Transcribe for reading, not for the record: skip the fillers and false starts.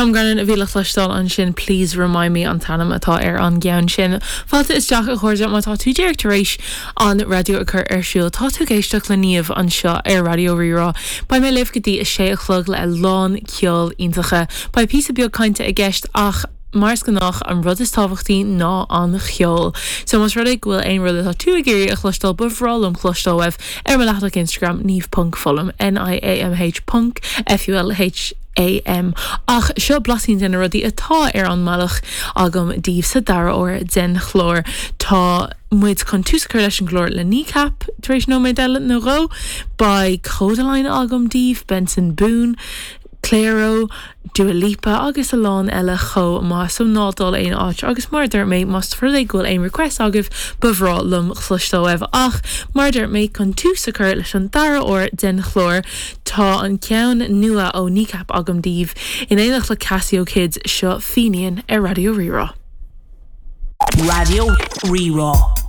Tom Grennan a bhí le cloisteáil ansin, Please Remind Me an t-ainm atá ar an gceann sin. Fáilte isteach a chairde, má tá tú díreach tar éis an raidió a chur ar siúl, tá tú ag éisteacht le Niamh anseo ar Raidió Rí-Rá. Beidh mé libh go dtí a sé a chlog le a lán ceoil iontacha. Beidh píosa beag cainte i gceist ach mar is gnách an rud is tábhachtaí ná an cheol. So más rud é go bhfuil aon rud atá tú ag iarraidh a chloisteáil ba bhreá liom cloisteáil uaibh ar mo leathanach Instagram niamh ponc fulham, N-I-A-M-H ponc F-U-L-H-A-M. Ach seo blaisín de na rudaí atá ar an mbealach agam daoibh sa dara uair den chlár. Tá muid chun tús a chur leis an gclár le Kneecap tar éis nóiméad eile nó dhó. Beidh Kodaline agam daoibh, Benson Boone, Clairo, Dua Lipa agus a lán eile chomh maith so ná dul aon áit agus mar a dúirt mé más rud é go bhfuil aon request agaibh ba bhreá liom cloisteáil uaibh ach mar a dúirt mé chun tús a chur leis an dara uair den chlár tá an ceann nua ó Kneecap agam daoibh in éineacht le Casio Kids seo Fenian ar Raidió Rí-Rá. Raidió Rí-Rá.